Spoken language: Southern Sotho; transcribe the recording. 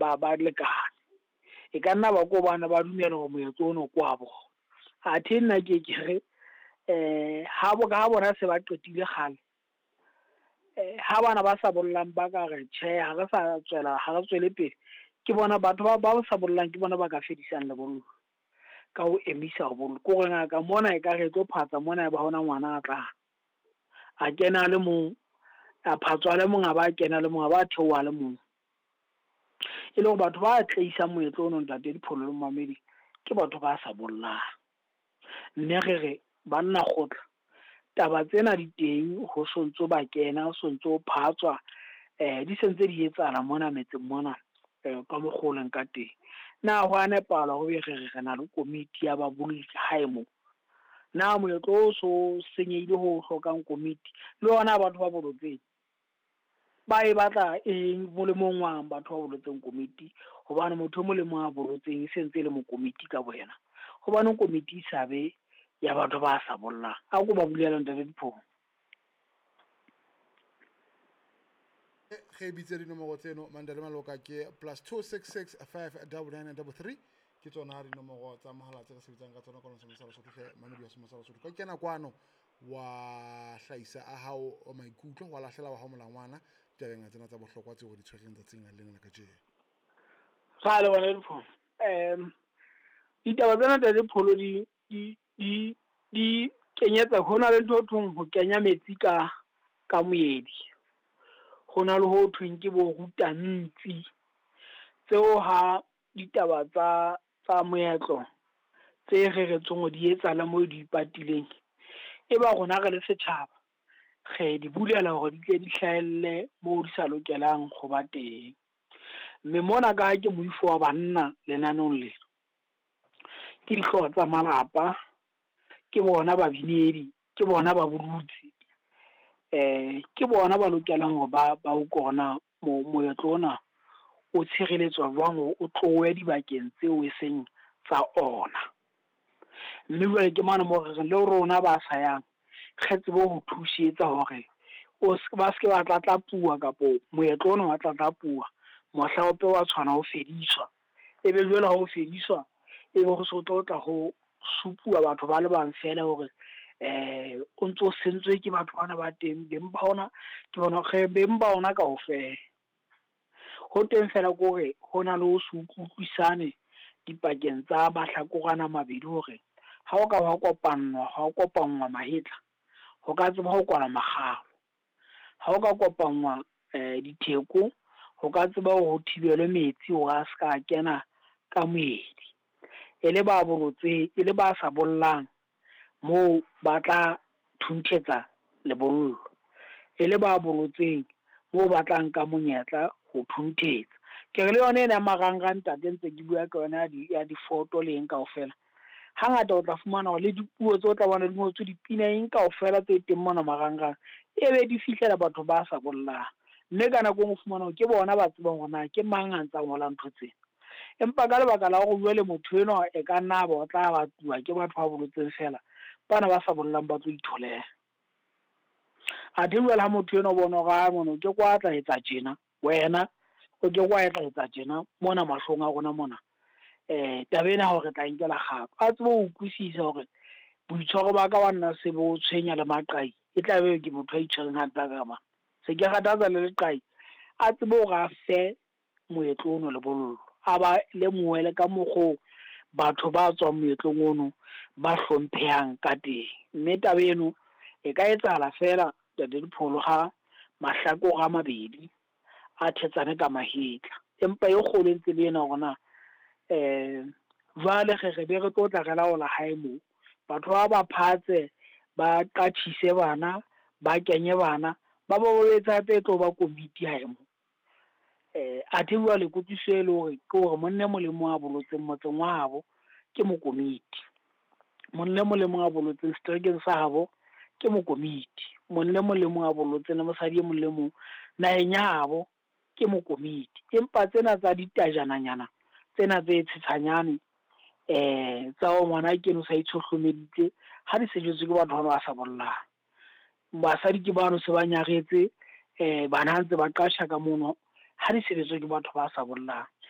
ba lekane. E ka nna ba ko bana ba dumela hore moetlo ono ke wa bona. Athe nna ke ke re ha bo ka bona se ba qetile kgale, ha bana ba sa bollang ba ka re tjhe, ha re sa tswela, ha re tswele pele, ke bona batho ba sa bollang ke bona ba ka fedisang lebollo ka ho emisa ho bolla. Ke hore ngaka mona e ka re e tlo phatsa mona, e ba hona ngwana a tlang, a kena le mong, a phatswa le mong, a ba kena le mong, a ba theoha le mong. E le hore batho ba tleisang moetlo ono, ntate Dipholo le momamedi, ke batho ba sa bollang. Mme re re banna kgotla, taba tsena di teng, ho sontso ba kena, ho sontso phatswa, di sentse di etsahala mona metseng mona, ka mokgwa o leng ka teng. Na ho a nepahala hore re re re na le komiti ya babolli hae moo? Na moetlo o so senyehile ho hlokang komiti? Le hona batho ba bolotseng ba e batla eng molemong wang batho ba bolotseng komiti? Hobane motho e mong le mong a bolotseng e sentse e le mokomiti ka boyena. Hobaneng komiti e sa be ya batho ba sa bollang? A ko ba bulela, ntate Dipholo. Ge bitse dinomoro tseno, Mandela Maloka, ke +266 5 99 33, ke tsona dinomoro tsa mohala tse re sebetsang ka tsona kwano Semosa Lesotho. Hle mamedi wa Semosa Lesotho, ka kena kwano wa hlahisa a hao maikutlo, wa lahlela wa hao molangwana ditabeng tsena tsa bohlokwa tseo re di tshwereng tsatsing lena la kajeno. Ra leboha, Dipholo. Ditaba tsena, ntate Dipholo, di kenyetsa ho na le ntho ho thweng ho kenya metsi ka moedi. Ho na le ho thweng ke bo rutantsi. Tseo ha ditaba tsa moetlo tse reretsweng hore di etsahala moo di ipatileng, e ba rona re le setjhaba re di bulela hore di tle di hlahelle moo di sa lokelang ho ba teng. Mme mona ka ha ke moifo wa banna lenaneong lena, ke dihlooho tsa malapa, ke bona babinedi, ke bona ba bolotsi, ke bona ba lokelang hore ba utlwe hore na moetlo ona o tshireletswa jwang hore o tlohe dibakeng tseo e seng tsa ona. Mme jwale ke mane moo re reng le rona ba sa yang re tsebe ho thusetsa hore ba seke ba tlatlapuwa, kapo moetlo ona wa tlatlapuwa mohla ope wa tshwana ho fediswa. Ebe jwale ha o fediswa, ebe ho so tlo tla ho supuwa batho ba le bang feela hore o ntso sentswe ke batho bana ba teng, beng ba ona ke bona, re beng ba ona kaofela. Ho teng fela ke hore ho na le ho se utlwisisane dipakeng tsa mahlakore ana a mabedi, hore ha o ka wa kopannwa, ha o kopanngwa mahetla, ho ka tseba ho kwala makgalo. Ha o ka kopanngwa ditheko, ho ka tseba hore ho thibelwe metsi hore a ska kena ka moedi. E le ba bolotseng, e le ba sa bollang, moo ba tla thunthetsa lebollo. E le ba bolotseng, moo ba tla nka monyetla ho thunthetsa. Ke re le yona ena ya marangrang, ntate, ntse ke bua ka yona ya difoto le eng kaofela. Hangata o tla fumana hore le dipuo tse o tla bona di ngotswe dipina eng kaofela tse teng mona marangrang, ebe di fihlela batho ba sa bollang. Mme ka nako e nngwe o fumana hore ke bona ba tsebang hore na ke mang a ntsa ngola ntho tsena. Empa ka lebaka la hore jwale motho enwa e ka nna ba o tla batuwa ke batho ba bolotseng fela, bana ba sa bollang ba tlo itholela. Athe jwale ha motho enwa o bona hore a mono ke kwa tla etsa tjena, wena o ke kwa etla etsa tjena mona mahlong a rona mona, taba ena hore re tla nkela kgato, a tsebe ho utlwisisa hore boitshwaro ba ka wa nna se bo tshwenya le maqai, e tla be ke motho a itshwereng hampe ka mang, se ke kgathatsa le leqai, a tsebe hore a fe moetlo ono lebollo, a ba lemohe le ka mokgo batho ba tswang moetlong ono ba hlomphehang ka teng. Mme taba eno e ka etsahala feela, ntate Dipholo, ha mahlakore a mabedi a thetsane ka mahetla. Empa e kgolo e ntse le ena hore na jwale re be re tlo tla re laola hae moo, batho ba phatse, ba qatjhise bana, ba kenye bana, ba ba etse hape e tlo ba komiti hae moo. Athe jwale kutlwisiso e le hore ke hore monna e mong le mong a bolotseng motseng wa habo ke mokomiti, monna e mong le mong a bolotseng seterekeng sa habo ke mokomiti, monna e mong le mong a bolotseng le mosadi e mong le mong naheng ya habo ke mokomiti. Empa tsena tsa ditajananyana tsena tse tshetshanyane, tsa ho ngwana keno sa itshohlomeditse, ha di sejetswe ke batho ba sa bollang. Basadi ke bano se ba nyaretse, bana ntse ba qasha ka mono, ha di sebetswe ke batho ba sa bollang.